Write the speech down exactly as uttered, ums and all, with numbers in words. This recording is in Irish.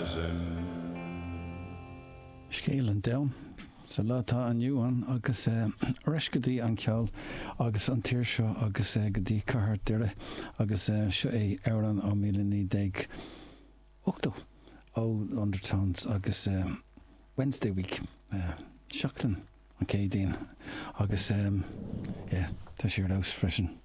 horizon. Scéal an domhain sa lá atá inniu ann agus ar ais go dtí an ceol agus an tír seo agus go dtí cathair Doire agus seo é amhrán ó míle naoi déag ochtó ó Undertones agus Wednesday Week seachtain an Chéadaoin agus yeah, tá sé ar fheabhas freisin.